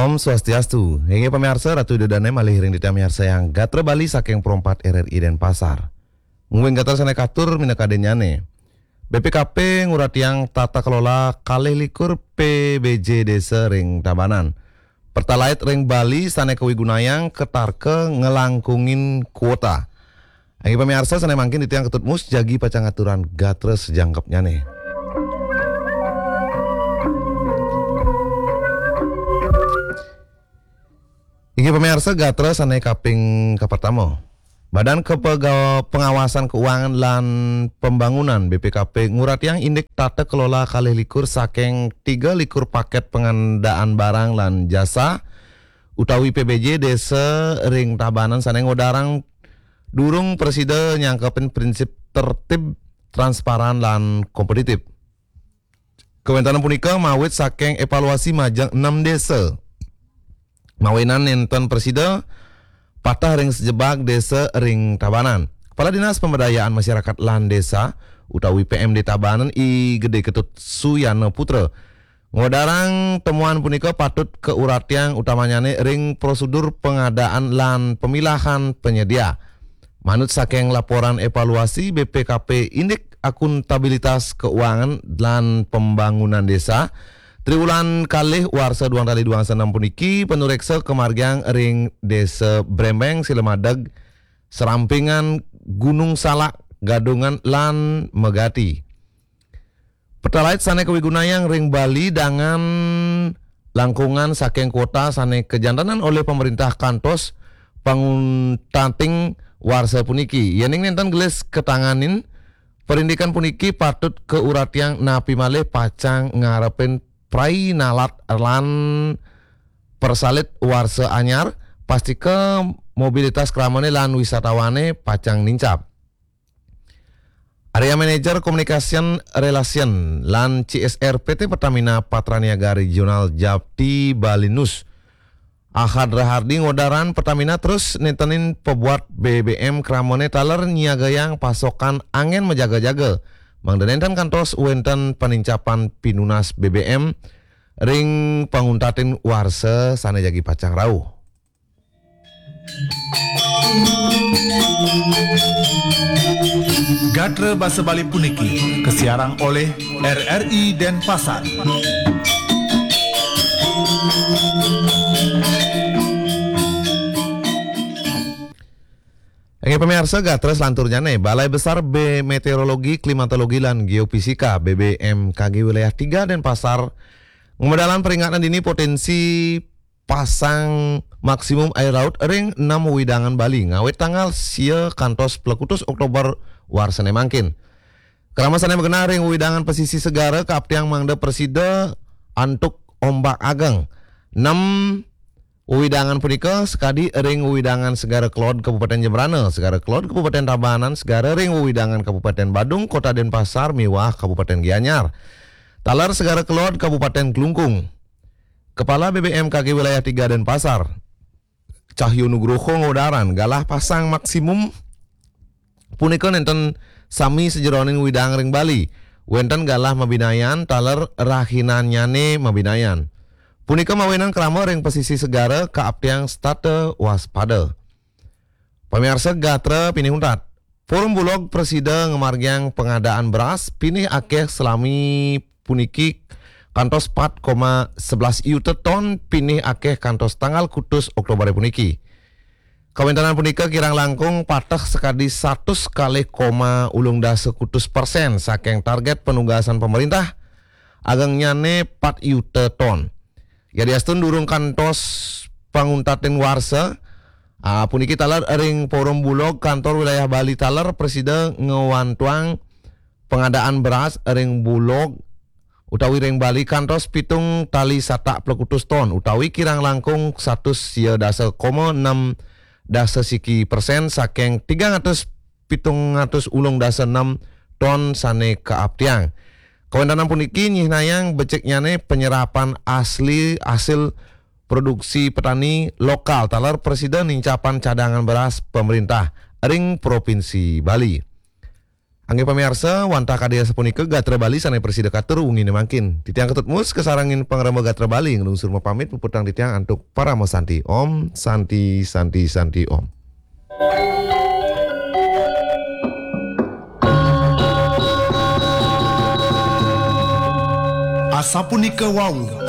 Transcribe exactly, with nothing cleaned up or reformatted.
Om Swastiastu. Inggih pamiarsa, Ratu Ida Dane malih ring titiang miarsayang gatra Bali saking Pro empat R R I Denpasar. Mungguing gatra sane katur minakadinnyane. B P K P nguratiang tata kelola kalih likur P B J desa ring Tabanan. Pertalite ring Bali sane kawigunayang katarka ngelangkungin kuota. Inggih pamiarsa, sane mangkin titiang Ketut Mus jagi pacang aturang gatra sajangkepnyane. Inggih pamiarsa, gatra sane kaping kapertama. Badan Kepega-, Pengawasan Keuangan lan Pembangunan, B P K P, nguratiang indik tata kelola kalih likur saking tiga likur paket pengadaan barang lan jasa utawi P B J desa ring Tabanan sane ngodarang durung prasida nyangkepin prinsip tertib, transparan, lan kompetitif. Kawenten punika mawit saking evaluasi majeng enam desa. Mawinan nenten prasida pateh ring sajebag desa ring Tabanan. Kepala Dinas Pemberdayaan Masyarakat lan Desa utawi P M D Tabanan, I Gede Ketut Suyana Putra, ngodarang temuan punika patut kauratiang utamanyane ring prosedur pengadaan lan pemilahan penyedia. Manut saking laporan evaluasi B P K P indik akuntabilitas keuangan lan pembangunan desa, triwulan kalih warsa duang tali duang senam puniki panureksa kamargiang ring Desa Brembeng, Silamadeg, Serampingan, Gunung Salak, Gadungan, lan Megati. Pertalite sane kawigunayang ring Bali dangan langkungan saking kuota sane kajantenan olih pemerintah kantos panguntating warsa puniki. Yening nenten gelis katanganin, parindikan puniki patut kauratiang napi malih pacang ngarepin prai nalat lan persalit warsa anyar, pastika mobilitas kramane lan wisatawane pacang nincap. Area Manager Communication Relation lan C S R P T Pertamina Patraniaga Regional Japti Balinus, Ahad Rahardi, ngodarang Pertamina terus netenin pabuat B B M kramane taler nyiagayang pasokan anggen majaga-jaga, mangda nenten kantos wenten panincapan pinunas B B M ring panguntatin warsa sane jagi pacang rauh. Gatra basa Bali puniki kasiarang olih R R I Denpasar. Inggih pamiarsa, gatra selanturnyane, Balai Besar B-, Meteorologi, Klimatologi, lan Geofisika, B B M K G Wilayah tiga Denpasar, ngamedalang peringatan dini potensi pasang maksimum air laut ring enam wewidangan Bali, ngawit tanggal sia kantos plekutus Oktober warsane mangkin. Krama sane magenah ring wewidangan pesisir segara kaaptiang mangda prasida antuk ombak ageng. Enam wewidangan punika sakadi ring wewidangan Segara Kelod, Kabupaten Jembrana, Segara Kelod, Kabupaten Tabanan, segara ring wewidangan Kabupaten Badung, Kota Denpasar, miwah Kabupaten Gianyar. Taler Segara Kelod, Kabupaten Klungkung. Kepala B B M K G Wilayah tiga Denpasar, Cahyo Nugroho, ngodarang galah pasang maksimum punika nenten sami sajeroning wewidangan ring Bali. Wenten galah mabinayan taler rahinannyane mabinayan. Punika mawinan krama ring pesisir segara kaaptiang setata waspada. Pamiarsa gatra pinih untat. Forum Bulog prasida ngamargiang pengadaan beras pinih akeh salami puniki kantos empat koma sebelas yuta ton, pinih akeh kantos tanggal kutus Oktober puniki. Kawentenan punika kirang langkung pateh sakadi satus kalih koma ulung dasa kutus persen saking target panugasan pemerintah, agengnyane empat yuta ton. Yadiastun durung kantos panguntatin warsa, ah, puniki taler ring Forum Bulog Kantor Wilayah Bali taler prasida ngwantuang pengadaan beras ring Bulog utawi ring Bali kantos pitung tali satak plekutus ton, utawi kirang langkung satus sia dasa koma enam dasa siki persen saking tigang atus pitung atus ulung dasa enam ton sane kaaptiang. Kawentenan puniki nyihnayang beciknyane penyerapan asli hasil produksi petani lokal taler prasida nincapang cadangan beras pemerintah ring Provinsi Bali. Inggih pamiarsa, wantah kadi asapunika gatra Bali sané prasida katur wenginé mangkin. Titiang Ketut Mus kasarengin pangrembag gatra Bali nglungsur mapamit, puputang titiang antuk parama santi. Om Santi, Santi, Santi, Om. Asapunika wau